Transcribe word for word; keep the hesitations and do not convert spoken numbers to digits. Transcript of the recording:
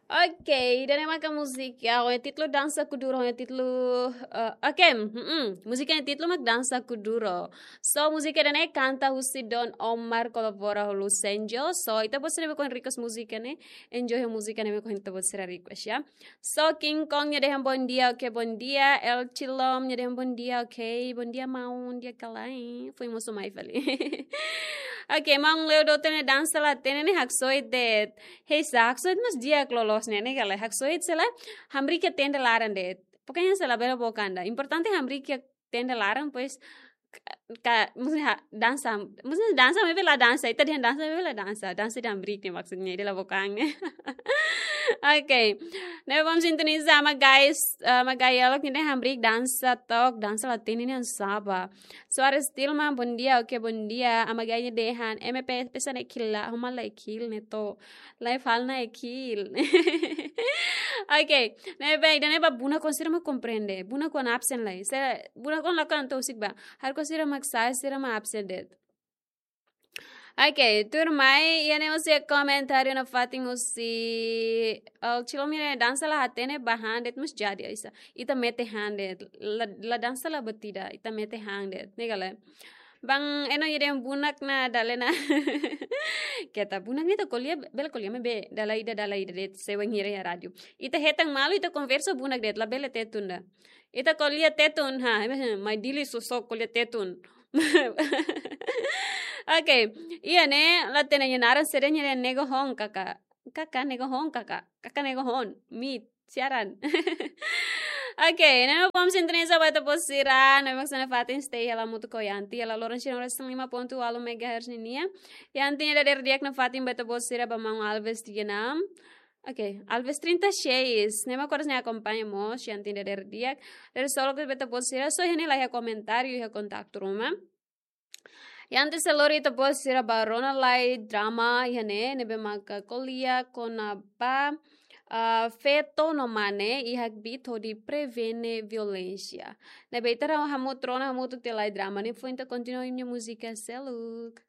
Ok, ida-ne'e maka múzika ho títulu Dansa Kuduro, ho títulu, eh, ok, mm, múzika ho títulu mak Dansa Kuduro. So, múzika ida-ne'e kanta husi Don Omar kolabora ho Lucenjo. So, ita-boot sira ne'ebé ohin request múzika ne'e, enjoy ho múzika ne'ebé ohin ita-boot sira request, ya. So, King Kong nia dehan bom dia, ok, bom dia. El Chilom nia dehan bom dia, ok, bom dia maun, dia kalai. Foin mosu mai fali. Ok, maun Leo Doutor nia dansa la hatene ne'e haksoit de'it. Hei, sa haksoit mas di'ak loloos ne'e, ne'e ka lae, haksoit se lae, hamriik iha tenda laran de'it. Pokoknya se labele book an ida. Importante hamriik iha tenda laran, pois, ka, ka, maksudnya ha-, dansa, maksudnya dansa, maibé la dansa, ita dehan dansa, maibé la dansa, dansa ida hamriik ne'e maksudnya, ida la book an ne'e. Ok, ne'ebé bom sintoniza, Ama Gai, eh, Ama Gai Yalok nia dehan hamriik dansa took, dansa la hatene nia saba. Soares Tilma, bom dia, ok, bom dia. Ama Gai nia dehan, M P pesan ekil la, homa la ekil ne'e to. Live hal na ekil. Ok, ne'ebé, ida-ne'e ba bunak-oan sira mak komprende. Bunak-oan absen lai. Se bunak-oan lakohi entaun husik ba. Ha'u hanoin sira mak sa'e, sira mak absen de'it. Ok, tuirmai, iha ne'e mós iha komentáriu nafatin husi, oh, Chilom nia dansa la hatene ba han de'it mós jadi, aisa. Ita mete han de'it, la, la dansa la buat ida, ita mete han de'it, ne'e ka lae. Bang Eno nia dehan bunak ne'e dala ida. Keta bunak ne'e ita ko'alia, bele ko'alia maibé dala ida, dala ida de'it, se wainhira iha rádiu. Ita hetan malu, ita konversa bunak de'it, labele Tetun ida. Ita ko'alia Tetun, ha, mai Dili sosok ko'alia Tetun. Ok, iha ne'e, la hatene nia naran, sira nia nego hon kaka. Kaka nego hon kaka. Kaka nego hon. Mit, siaran. Ok, ne'ebé bom sintoniza ba ita-boot sira, ne'ebé mak sira nafatin stay hela hamutuk ho Yanti, hela loron sira resin lima ponto walu megahertz ninia. Yanti nia dadeer di'ak nafatin ba ita-boot sira ba maun Alves tiga enam. Ok, Alves trinta e seis. Ne'ebé mak oras ne'e akompaña mós, Yanti nia dadeer di'ak. Dadeer solok ba ita-boot sira, so iha ne'e la iha komentáriu, iha kontaktu ruma. Yanti sei lori ita-boot sira ba rona lai drama iha ne'e, ne'ebé maka ko'alia kona-ba, ah, feto no mane iha kbiit hodi prevene violénsia. Ne'ebé ita rona hamutuk, rona hamutuk tiha lai drama ne'e, foin ita kontinua ita-nia múzika seluk.